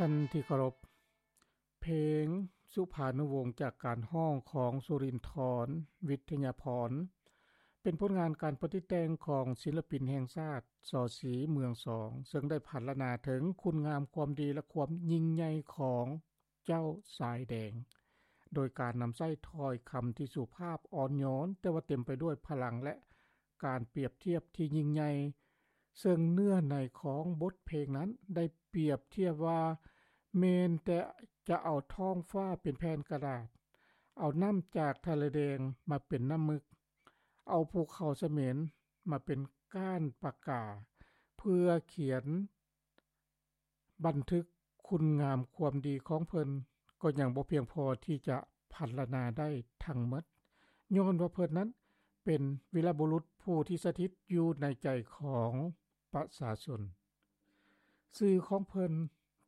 ທ່ານທີ່ເຄົາລົບ, ເພງສຸພານຸວົງ ຈາກການຮ້ອງຂອງສຸລິນທອນ ວິທະຍາພອນ ເປັນຜົນງານການປະຕິດແຕ່ງຂອງສິນລະປິນແຫ່ງຊາດ ສ.ສີ ເມືອງສອງ ເຊິ່ງໄດ້ພັນລະນາເຖິງຄຸນງາມຄວາມດີ ແລະ ຄວາມຍິ່ງໃຫຍ່ຂອງເຈົ້າຊາຍແດງ ໂດຍການນຳໃຊ້ຖ້ອຍຄຳທີ່ສຸພາບອ່ອນໂຍນ ແຕ່ວ່າເຕັມໄປດ້ວຍພະລັງ ແລະ ການປຽບທຽບທີ່ຍິ່ງໃຫຍ່ ເຊິ່ງເນື້ອໃນຂອງບົດເພງນັ້ນໄດ້ປຽບທຽບວ່າ ແມ່ນແຕ່ຈະເອົາທ້ອງຟ້າເປັນແຜ່ນກະດາດ, ເອົານ້ຳຈາກທະເລແດງມາເປັນນ້ຳມຶກ, ເອົາພູເຂົາສະເໝນມາເປັນກ້ານປາກາ ເພື່ອຂຽນບັນທຶກຄຸນງາມຄວາມດີຂອງເພິ່ນ ກໍຍັງບໍ່ພຽງພໍທີ່ຈະພັນລະນາໄດ້ທັງໝົດ, ຍ້ອນວ່າເພິ່ນນັ້ນເປັນວີລະບຸລຸດຜູ້ທີ່ສະຖິດຢູ່ໃນໃຈຂອງປະຊາຊົນ. ຊື່ຂອງເພິ່ນ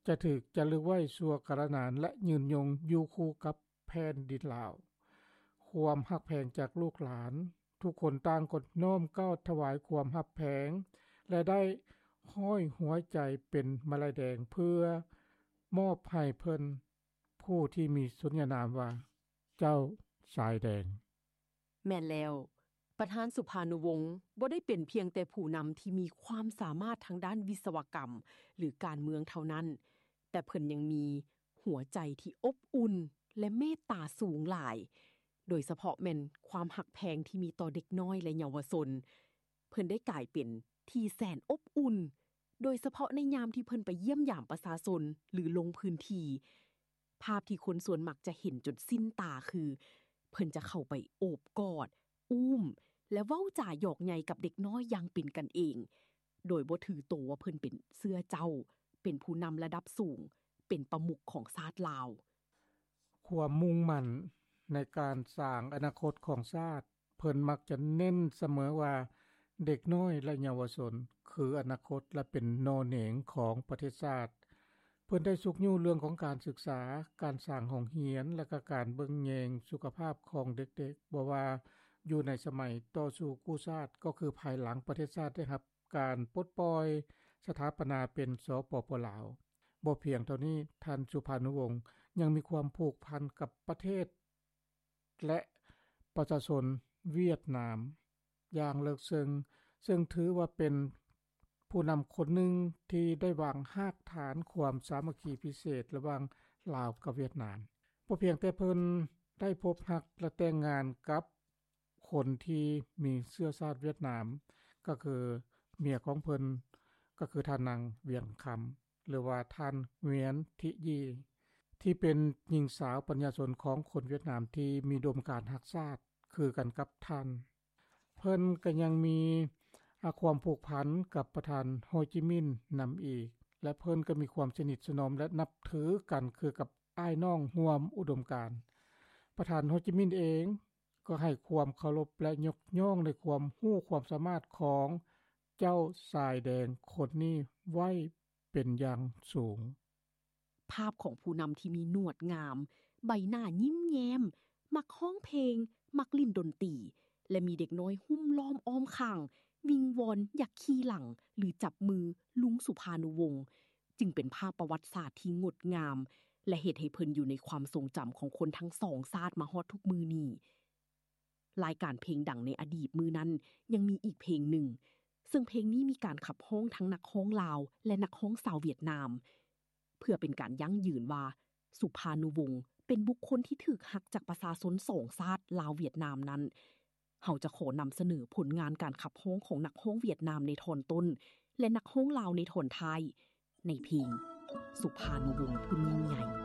ຈະຖືກຈາລຶກໄວ້ຊົ່ວກາລະນານ ແລະ ຍືນຍົງຢູ່ຄູ່ກັບແຜ່ນດິນລາວ. ຄວາມຮັກແພງຈາກລູກຫຼານ ທຸກຄົນຕ່າງກໍນ້ອມກ້າວຖວາຍຄວາມຮັກແພງ ແລະ ໄດ້ຫ້ອຍຫົວໃຈເປັນມາໄລແດງ ເພື່ອມອບໃຫ້ເພິ່ນ ຜູ້ທີ່ມີສົນຍານາມວ່າ ເຈົ້າຊາຍແດງ. ແມ່ນແລ້ວ, ປະທານສຸພານຸວົງ ບໍ່ໄດ້ເປັນພຽງແຕ່ຜູ້ນຳທີ່ມີຄວາມສາມາດທາງດ້ານວິສະວະກຳ ຫຼື ການເມືອງເທົ່ານັ້ນ, ແຕ່ເພິ່ນຍັງມີຫົວໃຈທີ່ອົບອຸ່ນ ແລະ ເມດຕາສູງຫຼາຍ, ໂດຍສະເພາະແມ່ນຄວາມຮັກແພງທີ່ມີຕໍ່ເດັກນ້ອຍ ແລະ ເຍົາວະຊົນ. ເພິ່ນໄດ້ກາຍເປັນທີ່ແສນອົບອຸ່ນ, ໂດຍສະເພາະໃນຍາມທີ່ເພິ່ນໄປຢ້ຽມຢາມປະຊາຊົນ ຫຼື ລົງພື້ນທີ່. ພາບທີ່ຄົນສ່ວນມັກຈະເຫັນຈົນຊິນຕາຄື ເພິ່ນຈະເຂົ້າໄປໂອບກອດ, ອຸ້ມ ແລະ ເວົ້າຈາຫຍອກໃຍກັບເດັກນ້ອຍຢ່າງເປັນກັນເອງ, ໂດຍບໍ່ຖືໂຕວ່າເພິ່ນເປັນເຊື້ອເຈົ້າ, ເປັນຜູ້ນຳລະດັບສູງ, ເປັນປະມຸກຂອງຊາດລາວ. ຄວາມມຸ່ງໝັ້ນໃນການສ້າງອະນາຄົດຂອງຊາດ, ເພິ່ນມັກຈະເນັ້ນສະເໝີວ່າ ເດັກນ້ອຍ ແລະ ເຍົາວະຊົນ ຄືອະນາຄົດ ແລະ ເປັນໜໍ່ເໜງຂອງປະເທດຊາດ. ເພິ່ນໄດ້ຊຸກຍູ້ເລື່ອງຂອງການສຶກສາ, ການສ້າງໂຮງຮຽນ ແລະ ກະການເບິ່ງແຍງສຸຂະພາບຂອງເດັກໆ, ບໍ່ວ່າຢູ່ໃນສະໄໝຕໍ່ສູ້ກູ້ຊາດ, ກໍຄືພາຍຫຼັງປະເທດຊາດໄດ້ຮັບການປົດປ່ອຍສະຖາປະນາເປັນ ສປປ ລາວ. ບໍ່ພຽງເທົ່ານີ້, ທ່ານສຸພານຸວົງ ຍັງມີຄວາມຜູກພັນກັບປະເທດ ແລະ ປະຊາຊົນຫວຽດນາມຢ່າງເລິກເຊິ່ງ, ເຊິ່ງຖືວ່າເປັນຜູ້ນຳຄົນໜຶ່ງທີ່ໄດ້ວາງຮາກຖານຄວາມສາມັກຄີພິເສດລະຫວ່າງລາວກັບຫວຽດນາມ. ບໍ່ພຽງແຕ່ເພິ່ນໄດ້ພົບຮັກ ແລະ ແຕ່ງງານກັບຄົນທີ່ມີເຊື້ອຊາດຫວຽດນາມ, ກໍຄືເມຍຂອງເພິ່ນ, ກໍຄືທ່ານນາງ ຫວຽນຄຳ ຫຼືວ່າທ່ານ ຫວຽນ ທິຢີ ທີ່ເປັນຍິງສາວປັນຍາຊົນຂອງຄົນຫວຽດນາມທີ່ມີອຸດົມການຮັກຊາດຄືກັນກັບທ່ານ. ເພິ່ນກໍຍັງມີ ອາ ຄວາມຜູກພັນກັບປະທານ ໂຮຈິມິນ ນຳອີກ ແລະ ເພິ່ນກໍມີຄວາມສະໜິດສະໜອມ ແລະ ນັບຖືກັນຄືກັບອ້າຍນ້ອງຮ່ວມອຸດົມການ. ປະທານ ໂຮຈິມິນ ເອງກໍໃຫ້ຄວາມເຄົາລົບ ແລະ ຍົກຍ້ອງໃນຄວາມຮູ້ຄວາມສາມາດຂອງເຈົ້າຊາຍແດງຄົນນີ້ໄວ້ ເປັນຢ່າງສູງ. ພາບຂອງຜູ້ນຳທີ່ມີໜວດງາມ, ໃບໜ້າຍິ້ມແຍ້ມ, ມັກຮ້ອງເພງ, ມັກຫຼິ້ນດົນຕີ ແລະ ມີເດັກນ້ອຍຫຸ້ມລ້ອມອ້ອມຂ້າງ, ວິງວອນຢາກຂີ່ຫຼັງ ຫຼື ຈັບມືລຸງສຸພານຸວົງ ຈຶ່ງເປັນພາບປະຫວັດສາດທີ່ງົດງາມ ແລະ ເຮັດໃຫ້ເພິ່ນຢູ່ໃນຄວາມຊົງຈຳຂອງຄົນທັງສອງຊາດມາຮອດທຸກມື້ນີ້. ລາຍການເພງດັງໃນອະດີດມື້ນັ້ນຍັງມີອີກເພງໜຶ່ງ, ເຊິ່ງເພງນີ້ມີການຂັບຮ້ອງທັງນັກຮ້ອງລາວ ແລະ ນັກຮ້ອງຊາວຫວຽດນາມ. ເພື່ອເປັນການຢັ້ງຢືນວ່າ ສຸພານຸວົງ ເປັນບຸກຄົນທີ່ຖືກຮັກຈາກປະຊາຊົນສອງຊາດລາວຫວຽດນາມນັ້ນ, ເຮົາຈະຂໍນຳສະເໜີຜົນງານການຂັບຮ້ອງຂອງນັກຮ້ອງຫວຽດນາມໃນທ່ອນຕົ້ນ ແລະ ນັກຮ້ອງລາວໃນທ່ອນທ້າຍ ໃນເພງ ສຸພານຸວົງຜູ້ຍິ່ງໃຫຍ່.